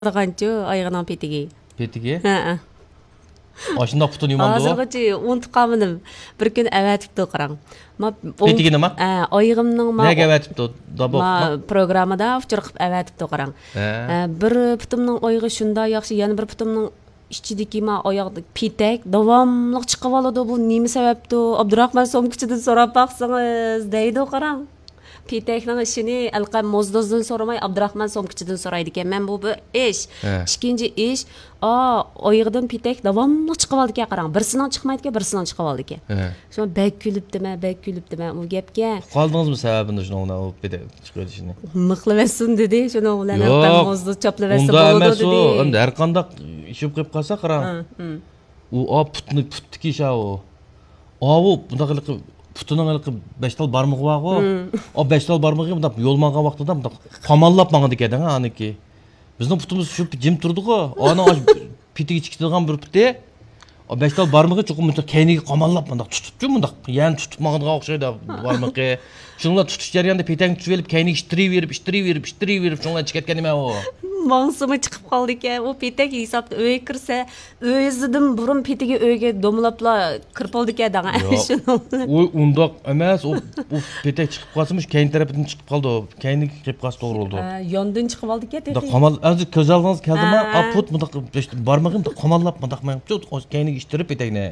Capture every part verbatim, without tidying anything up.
بارىدىغانچۇ ئايىغىنىڭ پېتىگى. پېتىگى؟ ھەئە. ئاشۇنداق پۇتىنى يۇمامدۇ؟ ھازىرغىچە ئۇنتۇپ قالمىدىم. بىر كۈنى ئەۋەتىپتۇ، قاراڭ. ما-، ئوڭ-، پېتىگە نېمە؟ ھە، ئايىغىمنىڭ ما-، نەگە ئەۋەتىپتۇ؟ دابا ما-، ئوقۇتما؟ پروگراممىدا ئۇچۇر قىلىپ ئەۋەتىپتۇ، قاراڭ. ھە. ھە، بىر پۇتۇمنىڭ ئايىغى شۇنداق ياخشى، يەنە بىر پۇتۇمنىڭ ئىچىدىكى ما ئاياغدا پېتەك داۋاملىق چىقىۋالىدۇ. بۇ نېمە سەۋەبتۇ؟ ئابدۇراخمان سومكىچىدىن سوراپ باقسىڭىز، دەيدۇ، قاراڭ. پېتەكنىڭ ئىشىنى ھېلىقى موزدوزدىن سورىماي، ئابدۇراخمان سومكىچىدىن سورايدىكەن. مەن بۇ بىر ئىش. ھە. ئىككىنچى ئىش، ئا، ئايىغىدىن پېتەك داۋاملىق چىقىۋالىدىكەن، قاراڭ. بىرسىنىڭ چىقمايدىكەن، بىرسىنىڭ چىقىۋالىدىكەن. ھە. شۇڭا بەك كۈلۈپتىمەن، بەك كۈلۈپتىمەن ئۇ گەپكە. ئۇقالدىڭىزمۇ سەۋەبىنى شۇنىڭ بىلەن ئۇ پېتەك چىقىۋېلىشىنى؟ مىخلىۋەتسۇن دېدى، شۇنىڭ بىلەن ياق، ھەلقەم موزدۇز چاپلىۋەتسە ئۇنداق بولىدۇ ئەمەس ئۇ. دېدى. ئەمدى ھەر قانداق ئىش بولۇپ قېلىپ قالسا، قاراڭ. ھە، ھە. ئۇ، ئا، پۇتنى، پۇتتىكى ئىش ئاۋۇ. ئاۋۇ، بۇنداق ھېلىقى پۇتىنىڭ ھېلىقى بەش تال بارمىقى بارغۇ. ھە. ئا، بەش تال بارمىقى بۇنداق يول ماڭغان ۋاقتىدا بۇنداق قاماللاپ ماڭىدىكەن، ھە، ئانىكى. بىزنىڭ پۇتىمىز شۇ جىم تۇرىدىغۇ. ئانا ئاشۇ پېتىگە چىقىدىغان بىر پۇتى. ئا، بەش تال بارمىقى چوقۇم مۇنداق كەينىگە قاماللاپ مۇنداق تۇتۇپچۇ، مۇنداق يەنى تۇتۇپ ماڭىدىغان ئوخشايدۇ بارمىقى. شۇنىڭ بىلەن تۇتۇش جەريانىدا پېتەكنى تۇتۇۋېلىپ، كەينىگە ئىتتىرىۋېرىپ، ئىتتىرىۋېرىپ، ئىتتىرىۋېرىپ، شۇنىڭ بىلەن چىقىۋەتكەن نېمە ئۇ؟ ماڭسىمۇ چىقىپ قالىدىكەن. ئۇ پېتەك ھېسابتا ئۆيگە كىرسە، ئۆزىدىن بۇرۇن پېتىگە ئۆيگە دومىلاپلا كىرىپ بولىدىكەن دەڭە. ياق. شۇنىڭ بىلەن. ئۇ ئۇنداق ئەمەس، ئۇ، ئۇ پېتەك چىقىپ قالسىمۇ، شۇ كەينى تەرىپىدىن چىقىپ قالىدۇ. كەينىگە كىرىپ قالسا توغرا بولىدۇ. ئە، ياندىن چىقىۋالدىكەن تېخى. قامال، ھازىر كۆز ئالدىڭىزغا كەلدىمۇ؟ ئا. ئا، پۇت مۇنداق بارمىقى مۇنداق قاماللاپ مۇنداق مېڭىپچۇ، كەينىگە ئىتتىرىپ پېتەكنى.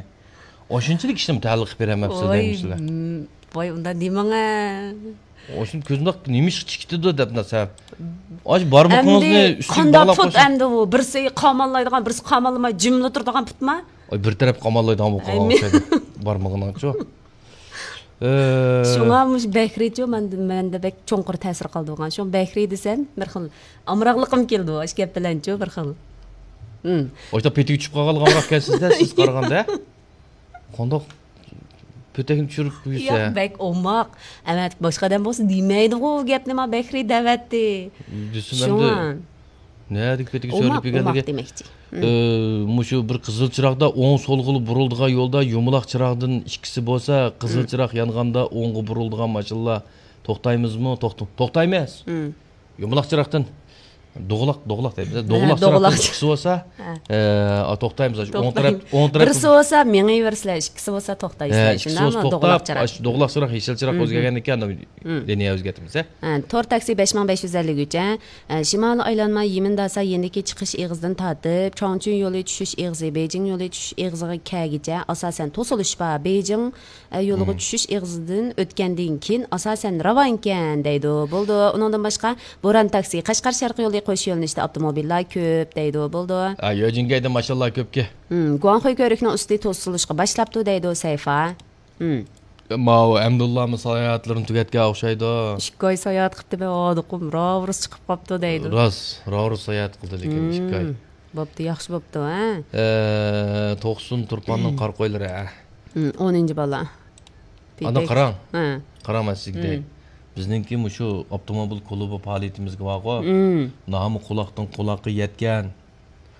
ئاشۇنچىلىك ئىشنىمۇ تەلىقىپ بېرەلمەپسىز ۋاي، دەيمىسىلەر. م، ۋاي، ئۇنداق دېمەڭە. ئاشۇ كۆزۈمداق نېمىشقا چىقىتىدۇ دەپ نەرسە. ئاشۇ بارمىقىڭىزنى ئەمدى ئۈستىگە قانداق باغلاپ پۇت قويسا. ئەمدى ئۇ؟ بىرسى قاماللايدىغان، بىرسى قاماللىماي جىملا تۇرىدىغان پۇتما؟ ئاي، بىر تەرەپ قاماللايدىغان بولۇپ قالغان ئوخشايدۇ. بارمىقىنىڭچۇ. ئە، شۇڭا مۇشۇ بەھرىيچۇ مەندە، مەندە بەك چوڭقۇر تەسىر قالدۇرغان. شۇڭا بەھرىي دېسەم، بىر خىل ئامراقلىقىم كېلىدۇ، ئاشۇ گەپ بىلەنچۇ بىر خىل. ھىم. ئاشۇنداق پېتىگە چۈشۈپ قالغانلىق ئامراق ئىكەنسىز-دە، سىز قارىغاندا. قانداق پېتەكنى چۈشۈرۈپ يۈرسە؟ ياق، بەك ئوماق. ئەمەتىك باشقا ئادەم بولسا دېمەيدىغۇ ئۇ گەپنى، ما بەھرىي دەۋەتتى. دېسىم شۇڭا. ئەمدى نەدىكى پېتىگە ئوماق، چۈشۈرۈپ يۈرگەنلىكى؟ ئوماق دېمەكچى. ھىم. ئى، مۇشۇ بىر قىزىل چىراغدا ئوڭ سولغىلى بۇرۇلىدىغان يولدا يۇمىلاق چىراغدىن ئىككىسى بولسا، قىزىل ھىم. چىراغ يانغاندا ئوڭغا بۇرۇلىدىغان ماشىنىلار توختايمىزمۇ؟ توختا-، توختايمىز. ھىم. يۇمىلاق چىراغدىن دوغىلاق، دوغىلاق دەيمىز. ھە، دوغىلاق چىراغدىن دوغىلاق. ئىككىسى بولسا، ھە. ئە، توختايمىز. ئوڭ تەرەپ، توختايمىز. ئوڭ تەرەپ. بىرسى بولسا مېڭىۋېرىسىلەر، ئىككىسى بولسا ھە، توختايسىلەر. ئىككىسى شۇنداقمۇ؟ بولسا دوغىلاق توختاپ، چىراغ. ئاشۇ دوغىلاق چىراغ، يېشىل چىراغ مم. ئۆزگەرگەندىن كېيىن مم. لىنىيە ئۆزگەرتىمىز، ھە؟ ھە، تور تاكسى بەش مىڭ بەش يۈز ئەللىك ئۈچ، ھە. ئە، شىمالىي ئايلانما يىمىنداسا يېنىدىكى چىقىش ئېغىزىدىن تارتىپ، چاڭچۈن يولى چۈشۈش ئېغىزى، بېيجىڭ يولى چۈشۈش ئېغىزىغا كەلگۈچە ئاساسەن توسۇلۇش بار. بېيجىڭ، ئە، يولىغا مم. چۈشۈش ئېغىزىدىن ئۆتكەندىن كېيىن ئاساسەن راۋانكەن دەيدۇ. بولىدۇ. ئۇنىڭدىن باشقا، بوران تاكسى، قەشقەر شەرقىي يولى قوش يۆنىلىشتە ئاپتوموبىللار كۆپ دەيدۇ. بولىدۇ. ھە، يۆجىنگەيدە ماشىنىلار كۆپكى. مم، گۇاڭخۇي كۆۋرۈكنىڭ ئۈستى توسۇلۇشقا باشلاپتۇ دەيدۇ سەيفا. ھىم. ماۋۇ ئەمدۇللامۇ ساياھەتلىرىنى تۈگەتكەن ئوخشايدۇ. ئىككى ئاي ساياھەت قىپتىمەن، ھادىقىم راۋۇرۇس چىقىپ قاپتۇ دەيدۇ. راست، راۋۇرۇس ساياھەت قىلدى لېكىن ئىككى ئاي. ھىم. بوپتۇ، ياخشى بوپتۇ، ھە؟ ئە، توقسۇن تۇرپاننىڭ قارا قويلىرى، ھە. ھىم، ئونىنچى بالا. ئانا، قاراڭ. ھە. قاراڭ، مەن سىزگە دەي. ھىم. بىزنىڭكى مۇشۇ ئاپتوموبىل كۇلۇبى پائالىيىتىمىزگە بارغۇ. ھىم. نامى قۇلاقتىن قۇلاققا يەتكەن.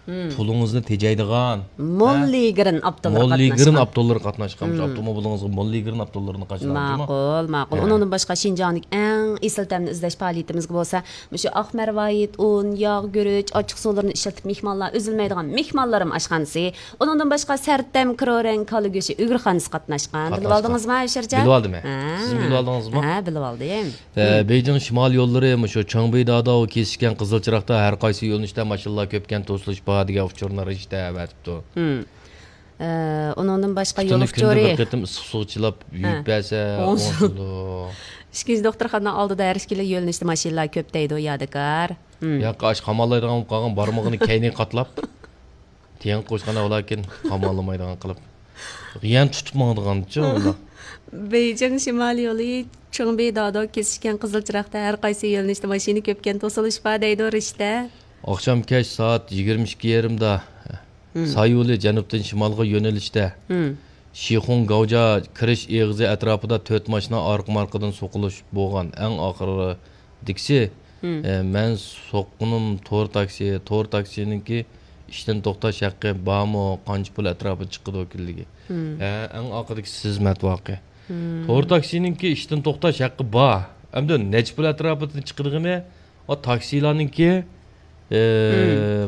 مم. پۇلىڭىزنى تېجەيدىغان، موللىگرېن ھە؟ ئاپتوللىرى موللىگرېن قاتناشقان. ئاپتوللىرى قاتناشقان. مم. ئاپتوموبىلىڭىزغا موللىگرېن ئاپتوللىرىنى قاچىلاڭ، جۇمۇ؟ ماقۇل، ماقۇل. ھە. ئۇنىڭدىن باشقا، شىنجاڭدىكى ئەڭ ئېسىل تەمنى ئىزدەش پائالىيىتىمىزگە بولسا، مۇشۇ ئاق مەرۋايىت، ئۇن، ياغ، گۈرۈچ، ئاچچىق سۇلىرىنى ئىشلىتىپ مېھمانلار ئۈزۈلمەيدىغان مېھمانلىرىم ئاشخانىسى. ئۇنىڭدىن باشقا، سەرتەم كرورەڭ كالا گۆشى ئۆگرىخانىسى قاتناشقان. قاتناشقان. بىلىۋالدىڭىزمۇ، ئەشىرجان؟ بىلىۋالدىم، ھە. ھە. سىزمۇ بىلىۋالدىڭىزمۇ؟ ھە، بىلىۋالدىم. ئە، مم. بېيجىڭ شىمالىي يوللىرى مۇشۇ چاڭبىداداۋ كېسىشكەن قىزىل چىراغدا ھەر قايسى يۆنىلىشتە ماشىنىلار كۆپكەن توسۇلۇش بار دېگەن ئۇچۇرنى رىشتە ئەۋەتىپتۇ. مم. ئە، ئۇنىڭدىن باشقا يول ئۇچۇرى. كۈندە بىر قېتىم ئىسسىق سۇغا چىلاپ ھە. يۇيۇپ بەرسە، ئوڭشىلىدۇ. ئوڭشىلىدۇ. ئىككىنچى دوختۇرخانىنىڭ ئالدىدا ھەر ئىككىلا يۆنىلىشتە ماشىنىلار كۆپ دەيدۇ، يادىكار. مم. ياققا ئاش قاماللايدىغان بولۇپ قالغان بارمىقىنى كەينىگە قاتلاپ. تېڭىپ قويۇشقان ۋالاكىن قاماللىمايدىغان قىلىپ. يەنە تۇتۇپ ماڭىدىغانچۇ ئۇنداق. بېيجىڭ شىمالىي يولى چۇڭبى دادو كېسىشكەن قىزىل چىراغدا ھەر قايسى يۆنىلىشتە ماشىنا كۆپكەن توسۇلۇش بار دەيدۇ رىشتە. ئاخشام كەچ سائەت يىگىرمە ئىككى يېرىمدا مم. سايولى جەنۇبتىن شىمالغا يۆنىلىشتە مم. شىخۇڭ گاۋجا كىرىش ئېغىزى ئەتراپىدا تۆت ماشىنا ئارقىمۇ ئارقىدىن سوقۇلۇش بولغان. ئەڭ ئاخىرى دىكسى، مم. ئە، مەن سوققىنىم تور تاكسى، تور تاكسىنىڭكى ئىشتىن توختاش ھەققى بارمۇ، قانچە پۇل ئەتراپىدا چىقىدۇ كۈنلۈكى؟ مم. ئە، ئەڭ ئاخىرىدىكى سىز مەتۋاقى. مم. تور تاكسىنىڭكى ئىشتىن توختاش ھەققى بار. ئەمدى نەچچە پۇل ئەتراپىدا چىقىدىغىنى، ئا، تاكسىلارنىڭكى ئى،